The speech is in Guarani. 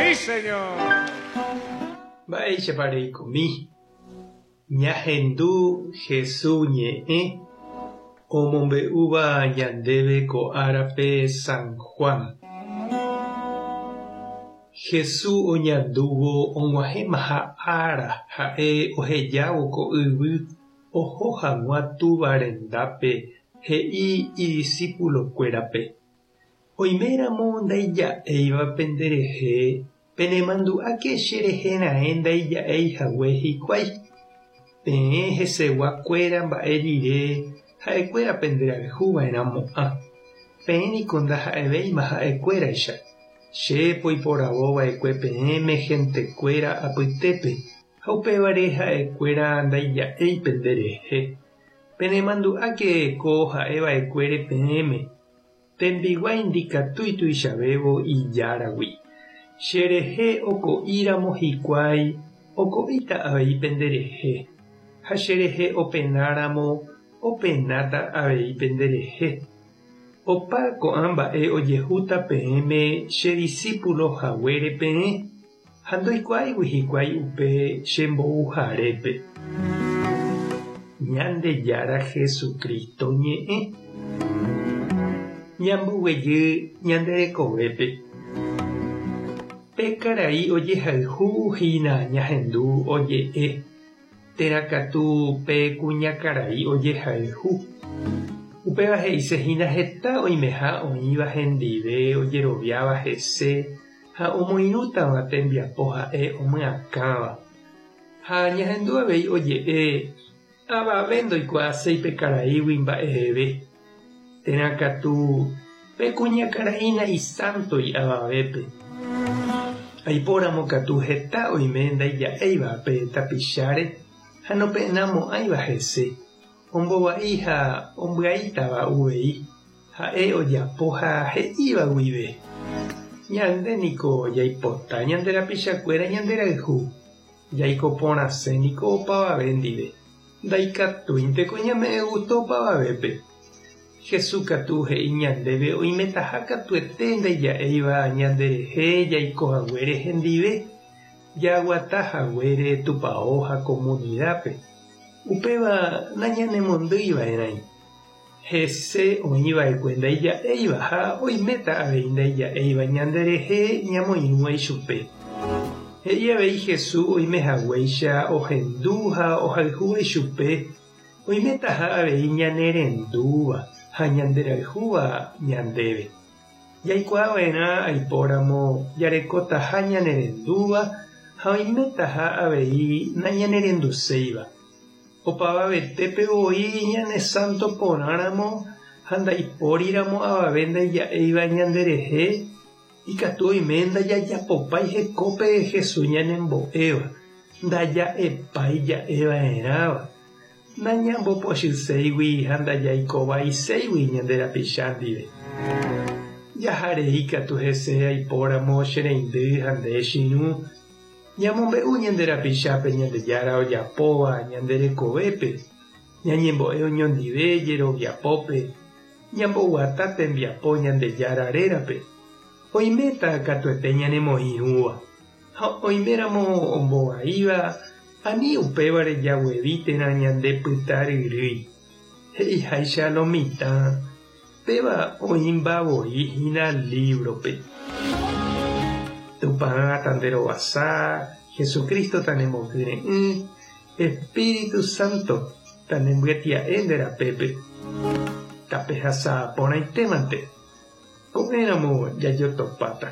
¡Sí, señor! Mba'éichapa reikomi? Ñahendu Jesús ñe'ẽ omombe'úva ñandéve ko árape San Juan. Jesús oñandúvo og̃uahẽmaha ára ha'e ohejávo ko yvy oho hag̃ua Túva rendápe he'i idisípulokuérape, Oiméramo ndaija'éiva penderehe, penemandu'áke cherehe raẽ ndaija'éi hague hikuái. Peẽ hesegua kuéra mba'e rire ha'ekuéra penderayhu va'erãmo'ã. Peẽ niko ndaha'evéima ha'ekuéraicha. Che poiporavo va'ekue peẽme hentekuéra apytépe, ha upévare ha'ekuéra ndaija'éi penderehe. Penemandu'áke ko ha'e va'ekuére peẽme, Tembiguái ndikatúi tuichavévo ijáragui. Che rehe oko'i ramo hikuái, oko'íta avei pende rehe, ha che rehe opena ramo, openáta avei pende rehe. Opa ko'ã mba'e ojehúta peẽme che disípulo haguére peẽ, ha ndoikuaáigui hikuái upe che mbouharépe. Ñandejára Jesucristo ñe'ẽ. Ñamboguejy ñande rekovépe. Pe karai ojehayhu hína ñahendu oje'e, térã katu pe kuñakarai ojehayhu. Upéva he'ise hína heta oimeha oĩva hendive ojeroviáva hese ha omoirũtava tembiapo ha'e omyakãva. Ha ñahendu avei oje'e, Avave ndoikuaaséi pe karaígui mba'eve, térã katu pe kuñakarai naisántoi avavépe. Aipóramo katu heta oime ndaija'éiva pe tapicháre ha nopenamo'ãiva hese, ombovai ha ombyaítava uvei ha'e ojapo ha he'íva guive. Ñande niko jaipota ñande rapichakuéra ñanderayhu, Jaiko porãse niko opavave ndive, ndaikatúinteko ñame'ẽ gústo opavavépe. Jesús katu he'i ñandéve oimetaha katuete ndaija'éiva ñanderehe jaiko haguére hendive, jaguata haguére tupao ha komunidápe. Upéva nañanemondýi va'erãi. Hese oĩ va'ekue ndaija'éiva ha oiméta avei ndaija'éiva ñanderehe ñamoirũva ichupe. He'i avei Jesús oime haguéicha ohendu ha ohayhúva ichupe, oimetaha avei ñanerendúva ha ñanderayhúva ñandéve. Jaikuaa va'erã aipóramo jarekotaha ñanerendúva ha oimetaha avei nañanerenduséiva. Opavavetépe voi ñane sánto porãramo ha ndaipóriramo avave ndaija'éiva ñanderehe, ikatu oime ndajajapopái hekópe Jesús ñanembo'éva, ndaja'epái ja'eva'erãva, nañambopochyséigui ha ndajaikovaiséigui ñande rapicha ndive. Jaharei katu hese aipóramo che reindy ha nde che irũ, Ñamombe'u ñande rapichápe Ñandejára ojapóva ñande rekovépe, ñañembo'e oñondive jeroviapópe, ñamboguata tembiapo Ñandejára rérape, oiméta katuete ñanemoĩrũva, ha oiméramo ombovaíva ani upévare jaguevi térã ñande pyta ryrýi. He'iháicha lo mitã, péva oĩmba voi hína lívrope. Tupã tanderovasa, Jesucristo tanemokyre'ỹ, Espíritu Santo tanembyetia'e nde rapépe. Tapehasa porãitémante. Ko'ẽramo jajotopáta.